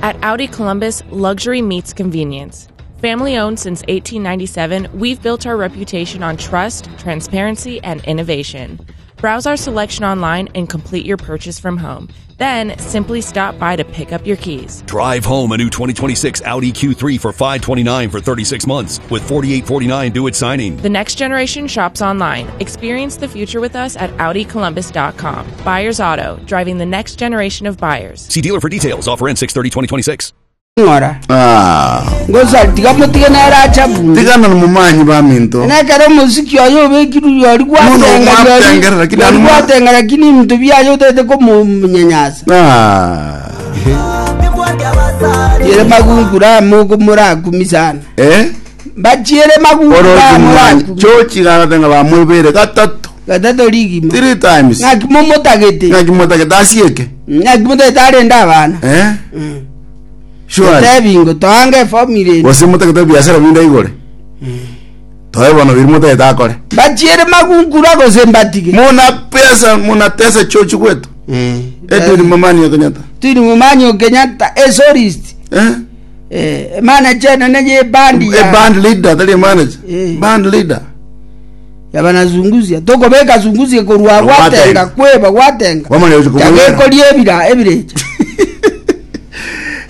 At Audi Columbus, luxury meets convenience. Family owned since 1897, we've built our reputation on trust, transparency, and innovation. Browse our selection online and complete your purchase from home. Then simply stop by to pick up your keys. Drive home a new 2026 Audi Q3 for 529 for 36 months with 4849 due at signing. The next generation shops online. Experience the future with us at AudiColumbus.com. Buyers Auto, driving the next generation of buyers. See dealer for details. Offer ends 630 2026. Ng'ora. Ah. Ngosa tiga motige nere ache abunde. Tigana nomomanyi baminto. Nekero omosiki oye obekirwe riori Mono gwatenga riori gwatengera, lakini riori anuma- gwatenga lakini ebinto biaye otagete komonyanyasa. Ah. Chiere magungura amo morakumi sana. Eh? Mbachiere magungura Orochi amo momanyi. morakumi. Chochi gagatenga bamwebere gatato. Gatato rigima. Three times. Ng'aki momotagete. Ng'aki motagete asieke. Ng'aki motagete arende abana. Eh? Surely. Tebi ngo toange efamiri ende. Gose motagete ebiasara binde aigore. Toe bono biri motagete akore. Mbachiere magunkura gose mbatige. Muna pesa munatesa chochi kwetu. Edwin Momanyi o Kenyatta. Edwin Momanyi o Kenyatta esolist. Eh? Eh, manager enene ye band ya A band leader, tari manager. Eh. Band leader. yabanazunguzia tokobeka zunguzie korwa Gwatenga. gwatenga kweba gwatenga Wamanya gochia komwera. chagekoria ebira ebirecha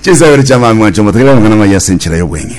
Chinsabere chia mami mwancho motegerere amang'ana amaya ase enchera y'obweng'e.